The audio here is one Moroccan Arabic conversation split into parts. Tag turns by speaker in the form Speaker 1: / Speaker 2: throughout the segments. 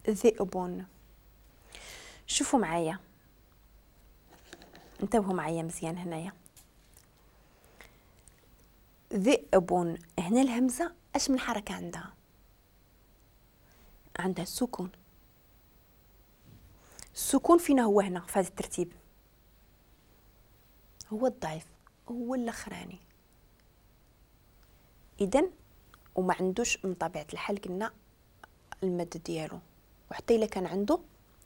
Speaker 1: ذئب. شوفوا معايا، انتبهوا معايا مزيان هنايا. ذئب، هنا الهمزة اش من حركة عندها؟ عندها السكون. السكون فينا هو هنا في هذا الترتيب، هو الضعيف، هو الاخراني. اذا وما عندوش من طبيعة الحال قلنا المد ديالو، وحتى الا كان عنده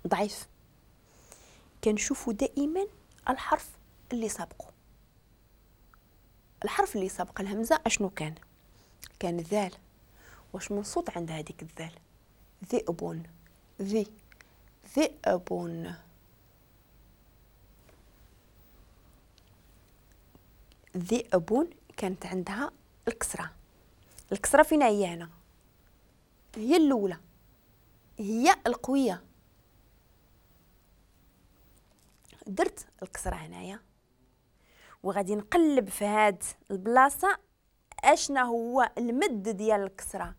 Speaker 1: ضعيف. كنشوفوا دائما الحرف اللي سبقه، الحرف اللي سبق الهمزة اشنو كان؟ كان ذال. واش من صوت عند هذيك الذال؟ ذئب، ذي، ذئب. ذئب كانت عندها الكسرة. الكسرة فينا هي هنا، هي الأولى، هي القوية. درت الكسرة هنايا وغادي نقلب في هاد البلاصة اشنا هو المد ديال الكسرة،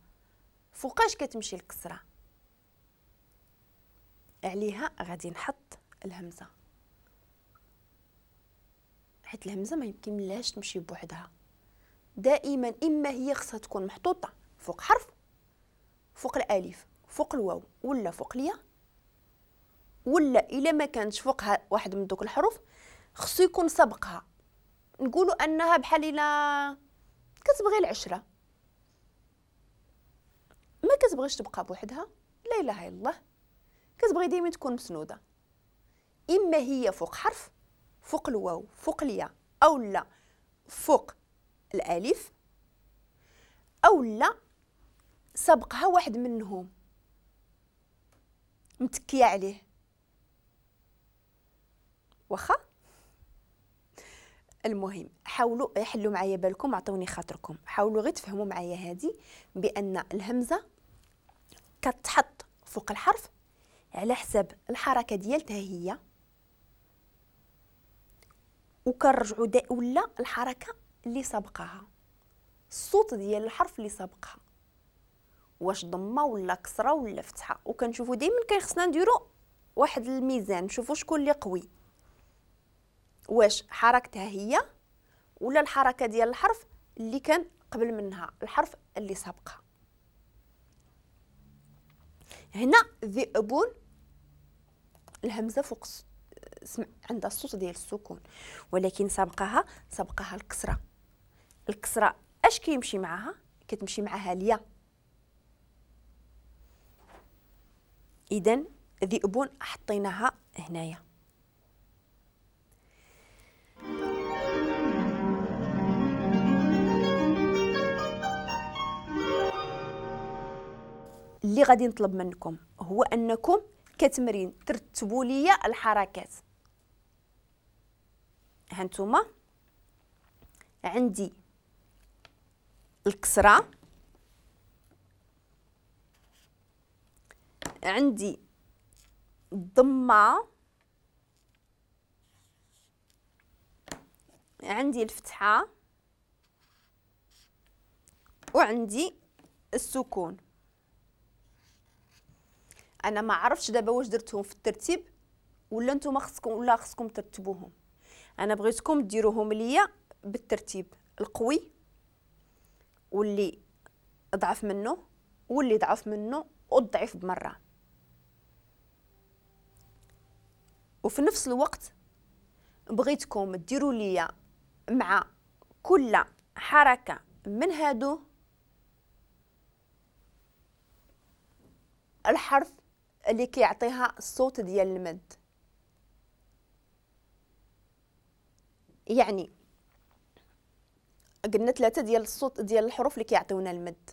Speaker 1: فوقاش كتمشي الكسرة عليها غادي نحط الهمزة، حيت الهمزة ما يمكن لهاش تمشي بوحدها. دائما اما هي خصها تكون محطوطة فوق حرف، فوق الالف، فوق الواو، ولا فوق الياء، ولا الا ما كانتش فوقها واحد من دوك الحروف خصو يكون سبقها. نقولوا انها بحال الا كتبغي العشرة، ما كتبغيش تبقى بوحدها، لا اله الا الله، كتبغي دائما تكون مسنوده. اما هي فوق حرف، فوق الواو، فوق الياء، او لا فوق الالف، او لا سبقها واحد منهم متكيه عليه. واخا المهم حاولوا يحلوا معايا بالكم، عطوني خاطركم، حاولوا غير تفهموا معايا هذه بان الهمزة كتحط فوق الحرف على حساب الحركة ديالتها هي، وكنرجعوا ولا الحركة اللي سبقها، الصوت ديال الحرف اللي سبقها، واش ضمه ولا كسره ولا فتحه. وكنشوفوا دائما كيخصنا نديروا واحد الميزان، نشوفوا شكون اللي قوي، واش حركتها هي ولا الحركة ديال الحرف اللي كان قبل منها، الحرف اللي سبقها. هنا ذئب الهمزة فوق عندها الصوت ديال السكون، ولكن سبقها الكسرة. الكسرة اش كيمشي معها؟ كتمشي معها الياء. اذا ذئب حطيناها هنايا. اللي غادي نطلب منكم هو انكم كتمرين ترتبوا لي الحركات. هانتوما عندي الكسرة، عندي الضمة، عندي الفتحة، وعندي السكون. انا ما عرفتش دابا واش درتهم في الترتيب ولا نتوما خصكم ولا خصكم ترتبوهم. انا بغيتكم ديروهم ليا بالترتيب، القوي واللي اضعف منه واللي ضعف منه والضعيف بمرة. وفي نفس الوقت بغيتكم ديروا ليا مع كل حركة من هادو الحرف اللي كيعطيها الصوت ديال المد. يعني قلنا ثلاثة ديال الصوت ديال الحروف اللي كيعطيونا المد،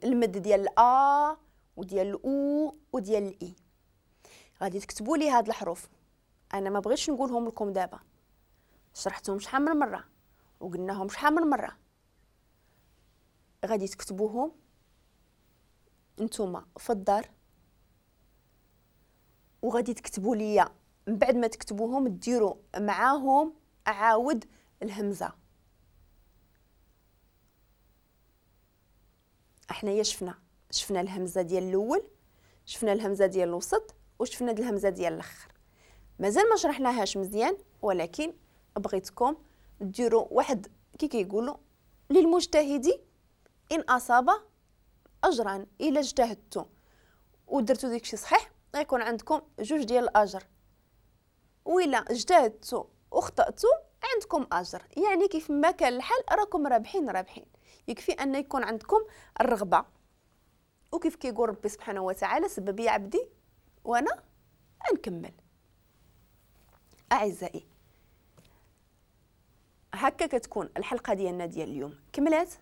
Speaker 1: المد ديال الأ وديال الأو وديال الإي. غادي تكتبوا لي هاد الحروف، انا ما بغيتش نقولهم لكم دابا، شرحتهم شحال من مرة وقلناهم شحال من مرة. غادي تكتبوهم نتوما في الدار، وغادي تكتبوا لي من بعد ما تكتبوهم ديروا معاهم عاود الهمزة. احنا يا شفنا الهمزة ديال الاول، شفنا الهمزة ديال الوسط وشفنا الهمزة ديال الاخر، مازال ما شرحناهاش مزيان، ولكن بغيتكم ديروا واحد كي كيقولوا للمجتهد ان اصاب اجرا. الا اجتهدتوا ودرتوا داكشي صحيح غيكون عندكم جوج ديال الاجر، وإلا اجتهدتوا وخطأتوا عندكم اجر. يعني كيف ما كان الحال راكم رابحين رابحين، يكفي ان يكون عندكم الرغبة. وكيف كيقول ربي سبحانه وتعالى سبب يا عبدي وانا نكمل. اعزائي هكا كتكون الحلقة ديالنا ديال اليوم كملات.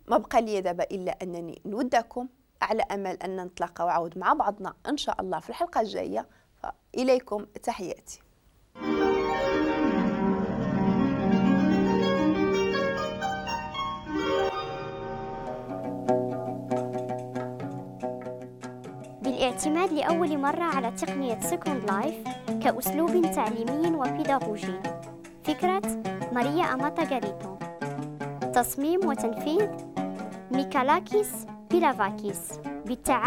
Speaker 1: ما بقى لي دابا الا انني نودعكم على امل ان نتلاقاو عاود مع بعضنا ان شاء الله في الحلقة الجاية. فاليكم تحياتي.
Speaker 2: بالاعتماد لأول مرة على تقنية Second Life كأسلوب تعليمي وبيداغوجي. فكرة ماريا أماتا غاريتو، تصميم وتنفيذ ميكالاكيس بيلافاكيس، بالتعاون